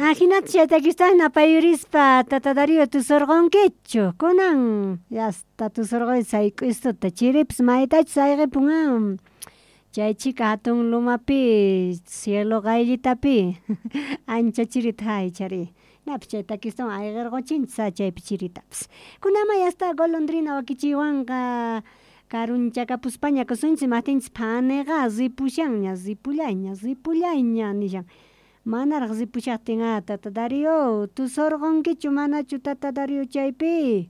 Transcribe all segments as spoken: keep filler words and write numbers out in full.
Ajinata chay takistawan napayurispa tata Darío tusurqunkichu kunan yasta tusurquni sayk'ustuta chiripis maytachus ayqipun a chay chhika hatun lumapi cielo qayllitapi ancha chirita hay chari napis chay takistawan ayqirquchinchis chaypi chiritapis kunanma yasta golondrina wakichiywanqa karunchakapuspaña kusunchis imaqtinchis phaniqa ripushanña ripullayña ripullayña nishan manaraq ripushaqtin a tata Darío tusurqunkichu manachu tata Darío chaypi.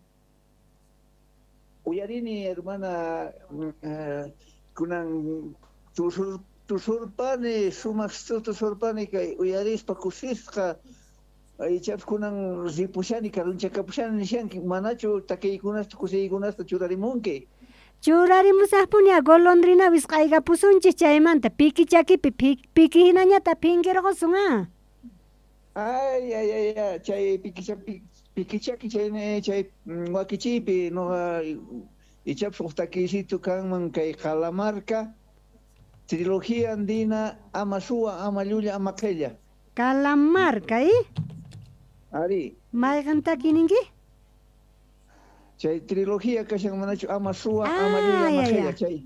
Uyarini hermana uh, kunan tusur tusurpani sumaq tusurpani kay uyarispa kusisqa ichapas kunan ripushani karunchakapushani nishanki manachu takiykunasta kusiykunasta churarimunki. Churarimusaqpuni golondrina wisq'aykapusunchis chaymanta piki chakipi piki hinañata phinkirqusun a. Ay ay ay ay chay piki piki chaki chay chay wakichiypi noqa ichapas huk takiysitu kanman kay Calamarca trilogía andina ama suwa ama llulla ama qhella. Calamarca eh? Ari. Mayqan takininki? Chay trilogía kashan manachu ama suwa ama llulla ama qhella chay.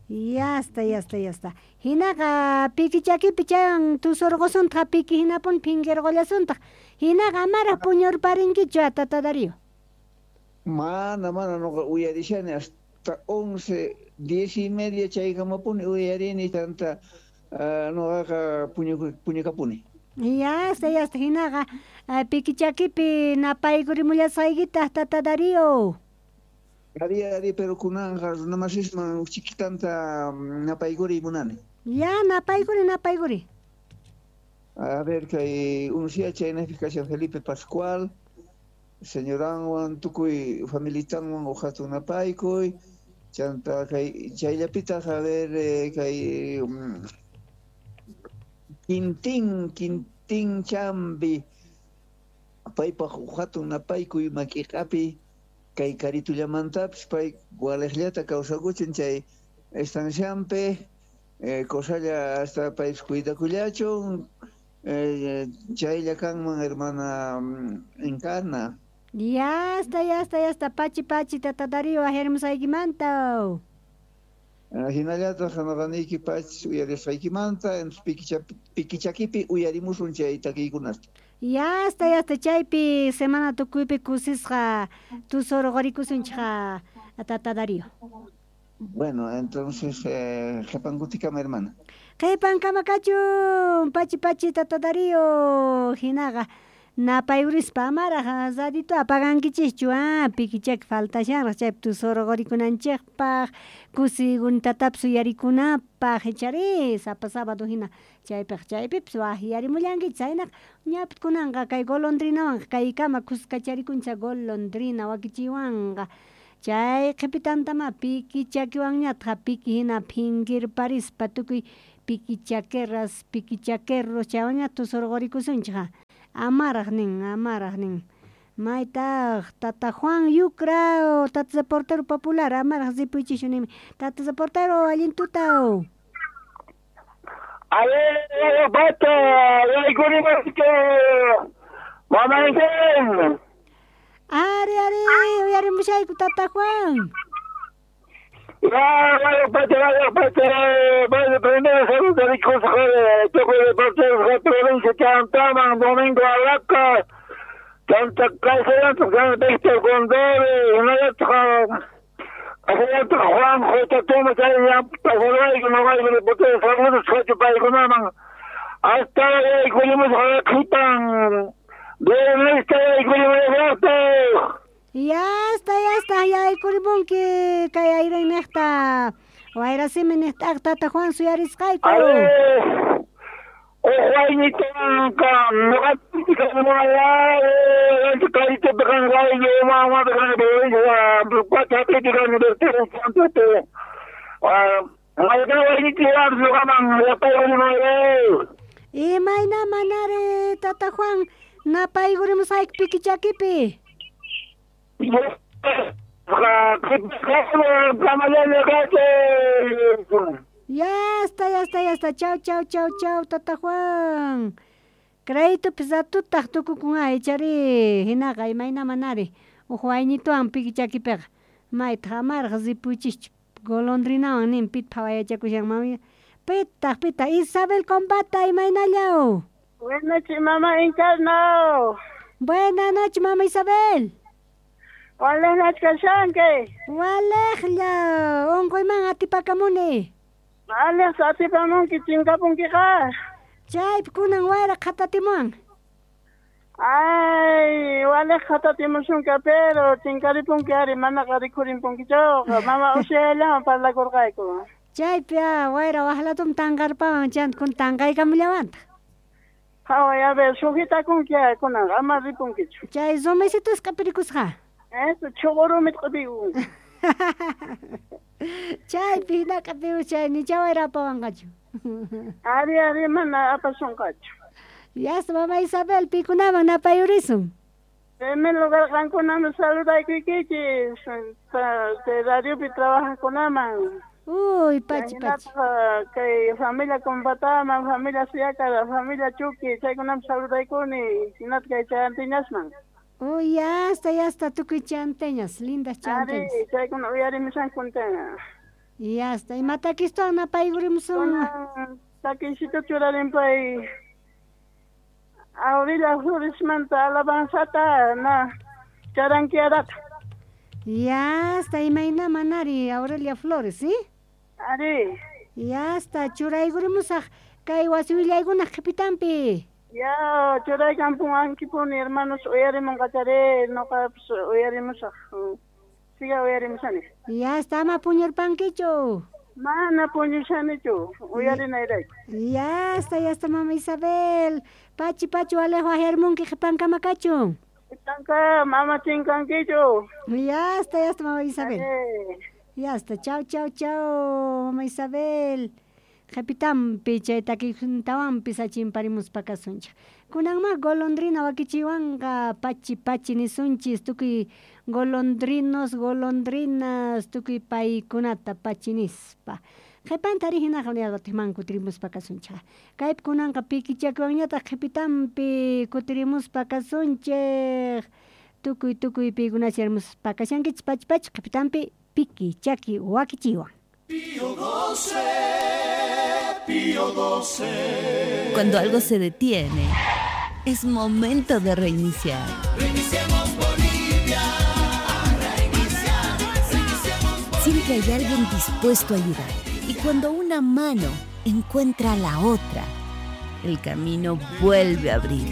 Ya está, ya está, ya está. Hinaqa piki chakipi chaywan tusurqusuntaq piki hinapuni phinkirqullasuntaq. Hinaqa amaraq puñurparinkichu tata Darío. Mana, mana noqa uyarishani hasta once, diez y media chaykamapuni uyarini tanta uh, noqaqa puñukapuni. Ya está, ya está. Hinaqa piki chakipi napaykurimullasqaykitaq tata Darío. Ari, ari, pero kunanqa runamasisman chiquitanta napaykuri munani. Ya, napaykuri, napaykuri. A ver, kay unusia chaynaypi kashan Felipe Pascual, señoranwan tukuy familitanwan uqhatun napaykuy, chanta kay chayllapitaq a ver eh, kay um, Quintín, Quintín Chambi, paypaq uqhatun napaykuy makiqapi, kay karitullamantapas pay waliqllata kawsakuchin chay estanciampi eh, cosalla hasta paypis cuidakullachun eh, chaylla kanman hermana Encarna. Ya está, ya está, ya está, pachi pachi tata Darío ajermusaykimanta. Hinallataq noqaniyki pachi uyarisqaykimanta entonces pikichakipi uyarimusun chay takiykunasta. Ya está, ya está, chaypi semana tukuypi kusisqa tusurqurikusunchik tata Darío. Bueno, entonces eh, qhipankutikama hermana. Qhipankama kachun, pachi pachi tata Darío hinaqa napayurispa amaraq radito apagankichikchu a pikichaki faltashanraq chaypi tusurqurikunanchikpaq kusiykunatapis uyarikunapaq ichari sapa sábado hina chaypiq chaypipis waqyarimullankichis chaynaqa ñapis kunanqa kay golondrinawanqa kaykama kuskacharikunchik golondrina wakichiwanqa chay qhipitantama piki chakiwanñataq piki hina phinkirparispa tukuy piki chaqueras piki chaquerros chaywanña tusurqurikusunchik amaraq nin amaraq nin maytaq tata Juan Yucra tata reportero popular amaraq ripuychishu nimi tata reportero allin tutaw. Ale pato yaykurimuske mamaysen. Ari ari uyarimushayku tata Juan. Ya, vaya pato, vaya pato, vaya primero saludos de consejo de tukuy reporteros de provincia Chantaman, Domingo Alaca, Chanta Caicedo, Víctor Condori, Juan J. Thomas, saludos, hasta Ya está, ya está, ya aykurimunki kay ayrinniqta wayrasimi niqta tata Juan suyarisqayku. Imayna manari tata Juan napaykurimusqayku piki chakipi. Ya está, ya está, ya está. Chau, chau, chau, chau, tata Juan. Créditupis ratutaq tukukun ichari hinaqa imayna manari uj wayñituwan piki chakipiqa maytaq amaraq ripuychischu golondrinawan nin pit phawayachakushan mami pitaq pitaq Isabel Combata imaynallaw. Buenas noches, mamá Encarno. Buenas noches, mamá Isabel. Buenas noches, kashanki. Walejlla, unquyman atipakamuni. Walej atipamunki chinkapunkiqa. Chaypi kunan wayra qhatatimuwan. Ay, walej qhatatimusunka, pero chinkaripunki ari manaqa rikhurinpunkichawqa. Mama ushallawan parlakurqayku. Chaypi ah, wayra waqlatum tanqarpawan chanta kun tanqaykamullawantaq. Haway, a ver, sujetakunki kunanqa ama ripunkichu. Chay rumisitus q'ipirikusqa. Eso, chuqurumit q'ipikun. Chaypi hina q'ipiyus chay nicha wayra apawanqachu. Ari, ari, mana apasunqachu. Yasta, mama Isabel, pikunaman napayurisun. Primer lugar qankunaman saludaykuykichis, radiopi trabajaqkunaman. Uy, pachi, pachi. Kay familia Combataman, familia Siácara, familia Chuqui, chaykunaman saludaykuni, hinata kay chanteñasman. Uy, yasta, yasta, tukuy chanteñas, lindas chanteñas. Ari, chaykuna uyarimushankuntana. Yasta, ima takistuwan napaykurimusun. Takisito churarinpay Aurelia Floresmanta alabanzata na charanquiarata. Yasta, imayna manari Aurelia Flores, ¿sí? Ari. Yasta, churaykurimusaq kay wasi willaykunaq qhipitanpi. Ya, churaykampuwankipuni hermanos uyarimunqachari, noqapis uyarimusaq. Siga uyarimusani. Yasta, ama puñurpankichu. Mana puñushanichu, uyarinayrayku. Yasta, yasta, mama Isabel. Pachi, pachi, walejo ajermunki qhipankama kachun. Qhipanka, mama chinkankichu. Yasta, yasta, mama Isabel. Yasta, chau, chau, chau, mama Isabel. Qhipitanpi chay takikuntawanpis achimparimuspa kasunchik. Kunanma golondrina wakichiwanqa pachi, pachi nisunchis tukuy golondrinos, golondrinas, tukuy paykunata pachi nispa. Qhipanta ari hinaqa watiqman kutirimuspa kasunchik. Kaypi kunanqa piki chakiwanñataq qhipitanpi kutirimuspa kasunchik. Tukuy tukuy paykunacha hermospa kashankichis pachi pachi qhipitanpi piki chaki wakichiwan. Pío doce, Pío doce. Cuando algo se detiene, es momento de reiniciar. Reiniciemos Bolivia, reiniciar, reiniciemos Bolivia. Siempre hay alguien dispuesto a ayudar. Y cuando una mano encuentra a la otra, el camino vuelve a abrirse.